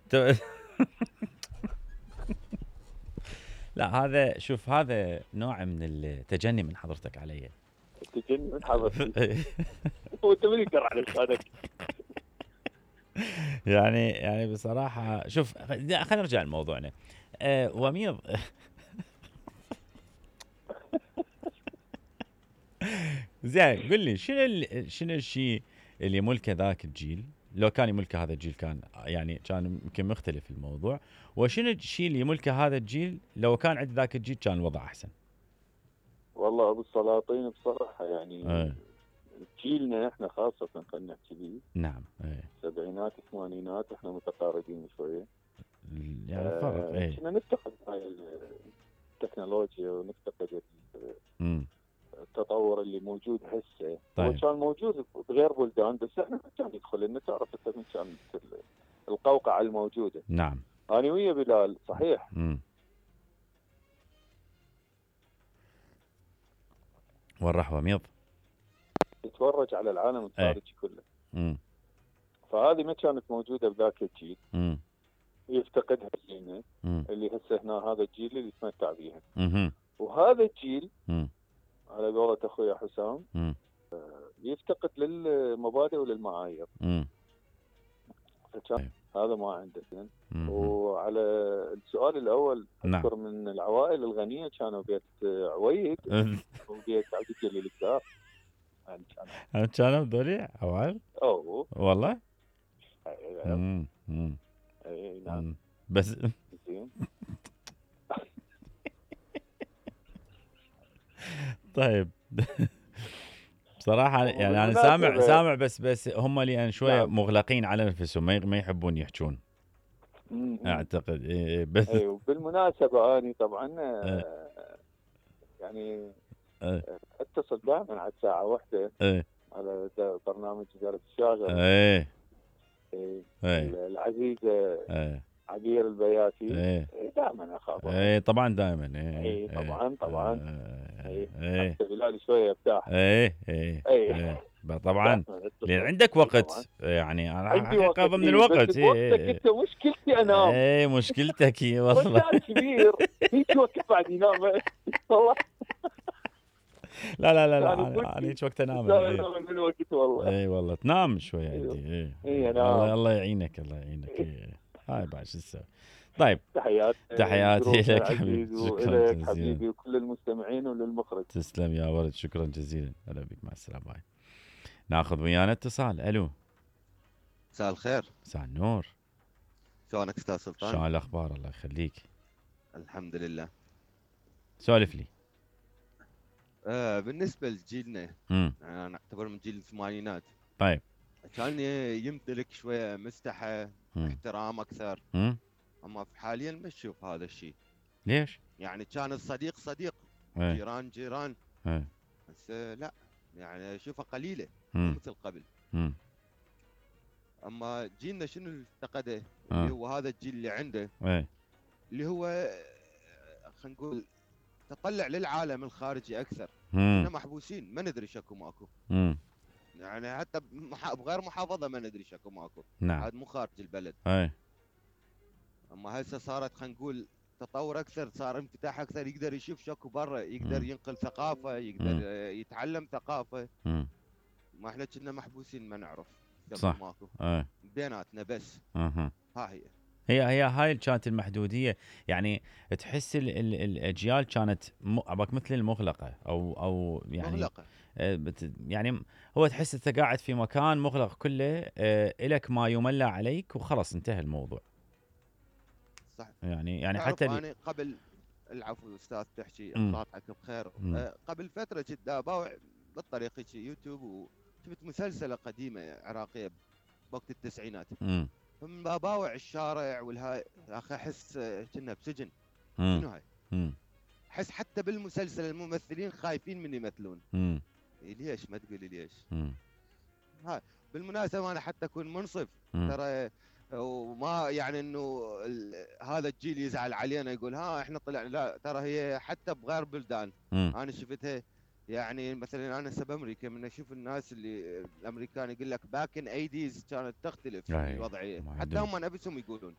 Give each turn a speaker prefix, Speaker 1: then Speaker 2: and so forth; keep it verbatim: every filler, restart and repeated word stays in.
Speaker 1: ت- لا هذا شوف هذا نوع من التجني من حضرتك علي.
Speaker 2: تجني من حضرتي. وانت من يقدر على لسانك؟
Speaker 1: يعني يعني بصراحه شوف خلينا نرجع لموضوعنا. أه وميض زين قل لي شنو ال- شنو الشيء اللي يملكه ذاك الجيل لو كان يملكه هذا الجيل كان يعني كان يمكن مختلف الموضوع، وشنو الشيء اللي يملكه هذا الجيل لو كان عند ذاك الجيل كان الوضع احسن؟
Speaker 2: والله ابو السلاطين بصراحه يعني
Speaker 1: أه.
Speaker 2: جيلنا احنا خاصه خلينا نحكي به.
Speaker 1: نعم. أه.
Speaker 2: سبعينات ثمانينات احنا متقاربين شويه.
Speaker 1: يعني فرق.
Speaker 2: آه
Speaker 1: ايه.
Speaker 2: كنا نفتقد هاي التكنولوجيا ونفتقد
Speaker 1: امم
Speaker 2: التطور اللي موجود هسه. هو
Speaker 1: طيب.
Speaker 2: كان موجود بغير بلدان بس احنا ما كان يدخل لنا. تعرف انت من كانت القوقعه الموجوده.
Speaker 1: نعم.
Speaker 2: انا ويا بلال صحيح.
Speaker 1: امم والرح وميض
Speaker 2: تتفرج على العالم الخارجي كله.
Speaker 1: امم
Speaker 2: فهذه ما كانت موجوده بذاك الجيل.
Speaker 1: امم
Speaker 2: يفتقدها جيلنا
Speaker 1: امم
Speaker 2: اللي هسه هنا هذا الجيل اللي يتمتع بيها.
Speaker 1: امم
Speaker 2: وهذا الجيل
Speaker 1: امم
Speaker 2: على قولة اخوي حسام
Speaker 1: امم
Speaker 2: يفتقد للمبادئ وللمعايير.
Speaker 1: امم
Speaker 2: فكان هذا ما عنده.
Speaker 1: مم.
Speaker 2: وعلى السؤال الاول
Speaker 1: نعم.
Speaker 2: اذكر من العوائل الغنيه كانوا بيت عويد وبيت عبد الجليل الكدار. يعني كانوا
Speaker 1: كانوا ذولي عوائل؟
Speaker 2: اوه
Speaker 1: والله؟
Speaker 2: اي
Speaker 1: امم امم
Speaker 2: أي نعم.
Speaker 1: مم. بس
Speaker 2: زين.
Speaker 1: طيب بصراحة يعني أنا
Speaker 2: وبالمناسبة-
Speaker 1: سامع سامع بس بس هم اللي يعني شوية
Speaker 2: نعم.
Speaker 1: مغلقين على نفسهم ما ما يحبون يحجون
Speaker 2: مم.
Speaker 1: أعتقد. إيه بس
Speaker 2: اي وبالمناسبه اني طبعا
Speaker 1: إيه.
Speaker 2: آه، يعني
Speaker 1: إيه.
Speaker 2: اتصل دائما على الساعه واحدة
Speaker 1: إيه.
Speaker 2: على د- برنامج وزاره الشاغر.
Speaker 1: إيه.
Speaker 2: إيه.
Speaker 1: إيه.
Speaker 2: العزيزه
Speaker 1: إيه.
Speaker 2: عبير البياتي.
Speaker 1: إيه.
Speaker 2: إيه دائما اخابرها.
Speaker 1: إيه طبعا دائما. إيه.
Speaker 2: إيه طبعا طبعا.
Speaker 1: إيه.
Speaker 2: إيه.
Speaker 1: إيه.
Speaker 2: حتى بلال شويه ارتاح.
Speaker 1: إيه. إيه.
Speaker 2: إيه.
Speaker 1: إيه. طبعا
Speaker 2: دائماً أتصل.
Speaker 1: لأن عندك
Speaker 2: إيه
Speaker 1: وقت
Speaker 2: طبعاً.
Speaker 1: يعني أنا
Speaker 2: عندي وقت
Speaker 1: حقيقة ضمن
Speaker 2: إيه،
Speaker 1: الوقت.
Speaker 2: بس بوقتك
Speaker 1: إيه.
Speaker 2: انت مشكلتي انام.
Speaker 1: إيه مشكلتك هي والله.
Speaker 2: رجال كبير هيك وقت بعد ينام والله.
Speaker 1: لا لا لا لا
Speaker 2: يعني
Speaker 1: انا أنا هيك وقت انام.
Speaker 2: لا
Speaker 1: إيه.
Speaker 2: لا من الوقت والله.
Speaker 1: اي والله تنام شوي
Speaker 2: أيوه.
Speaker 1: عندي. ايه
Speaker 2: إيه
Speaker 1: الله
Speaker 2: نعم.
Speaker 1: الله يعينك الله يعينك. إيه. هاي بعد شو تسوي. طيب
Speaker 2: تحيات
Speaker 1: تحياتي
Speaker 2: جروبنا
Speaker 1: لك
Speaker 2: العزيز
Speaker 1: حبيبي. شكرا
Speaker 2: ولك
Speaker 1: جزيلا.
Speaker 2: حبيبي وكل المستمعين وللمخرج.
Speaker 1: تسلم يا ولد شكرا جزيلا. هلا بك مع السلامه. باي. ناخذ ويانا اتصال. الو
Speaker 3: مساء الخير.
Speaker 1: مساء النور.
Speaker 3: شلونك استاذ سلطان؟
Speaker 1: شلون الاخبار؟ الله يخليك.
Speaker 3: الحمد لله.
Speaker 1: سولف لي.
Speaker 3: آه بالنسبه لجيلنا
Speaker 1: امم
Speaker 3: انا اعتبر من جيل الثمانينات.
Speaker 1: طيب.
Speaker 3: كان يمتلك شويه مستحى
Speaker 1: مم.
Speaker 3: احترام اكثر.
Speaker 1: امم
Speaker 3: اما حاليا ما نشوف هذا الشيء.
Speaker 1: ليش؟
Speaker 3: يعني كان الصديق صديق
Speaker 1: ايه.
Speaker 3: جيران جيران
Speaker 1: ايه.
Speaker 3: بس آه لا يعني اشوفها قليله
Speaker 1: مم.
Speaker 3: مثل قبل.
Speaker 1: امم
Speaker 3: اما جيلنا شنو اللي افتقده
Speaker 1: آه.
Speaker 3: اللي هو هذا الجيل اللي عنده
Speaker 1: ايه.
Speaker 3: اللي هو آه، خلينا نقول تطلع للعالم الخارجي اكثر.
Speaker 1: امم
Speaker 3: احنا محبوسين ما ندري شكو ماكو.
Speaker 1: امم
Speaker 3: يعني حتى بمح- بغير محافظه ما ندري شكو ماكو.
Speaker 1: نعم.
Speaker 3: هذا مو خارج البلد.
Speaker 1: ايه.
Speaker 3: اما هسه صارت خلينا نقول تطور اكثر صار انفتاح اكثر يقدر يشوف شكو برا يقدر
Speaker 1: مم.
Speaker 3: ينقل ثقافه يقدر
Speaker 1: مم.
Speaker 3: آه، يتعلم ثقافه.
Speaker 1: امم
Speaker 3: ما احنا كنا محبوسين ما نعرف شكو
Speaker 1: صح.
Speaker 3: ماكو
Speaker 1: ايه.
Speaker 3: بيناتنا بس.
Speaker 1: اها.
Speaker 3: ها هي
Speaker 1: هي هي هاي كانت المحدوديه يعني تحس ال ال الاجيال كانت م- عباك مثل المغلقه او او يعني
Speaker 3: مغلقه.
Speaker 1: آه، بت يعني هو تحس انت قاعد في مكان مغلق كله آه، الك ما يملى عليك وخلاص انتهى الموضوع.
Speaker 3: صح.
Speaker 1: يعني يعني
Speaker 3: تعرف
Speaker 1: حتى اللي
Speaker 3: انا قبل العفو استاذ تحكي
Speaker 1: مم.
Speaker 3: الله يعطيك بخير.
Speaker 1: مم.
Speaker 3: آه، قبل فتره كنت اباوع بالطريق هيك يوتيوب وشفت مسلسله قديمه عراقيه بوقت التسعينات.
Speaker 1: مم.
Speaker 3: فمن باباوع الشارع والهاي يا اخي احس آه، كنا بسجن.
Speaker 1: مم.
Speaker 3: شنو هاي؟
Speaker 1: مم.
Speaker 3: احس حتى بالمسلسل الممثلين خايفين من يمثلون.
Speaker 1: مم.
Speaker 3: إيه ليش ما تقولي ليش؟
Speaker 1: مم.
Speaker 3: هاي بالمناسبه انا حتى اكون منصف
Speaker 1: مم.
Speaker 3: ترى وما يعني انه ال- هذا الجيل يزعل علينا يقول ها احنا طلعنا لا ترى هي حتى بغير بلدان
Speaker 1: مم.
Speaker 3: انا شفتها. يعني مثلا انا سب امريكا من اشوف الناس اللي الامريكان يقول لك باك ان ايديز كانت تختلف
Speaker 1: أي.
Speaker 3: الوضعيه
Speaker 1: ما
Speaker 3: حتى
Speaker 1: عندهم.
Speaker 3: هم نفسهم يقولون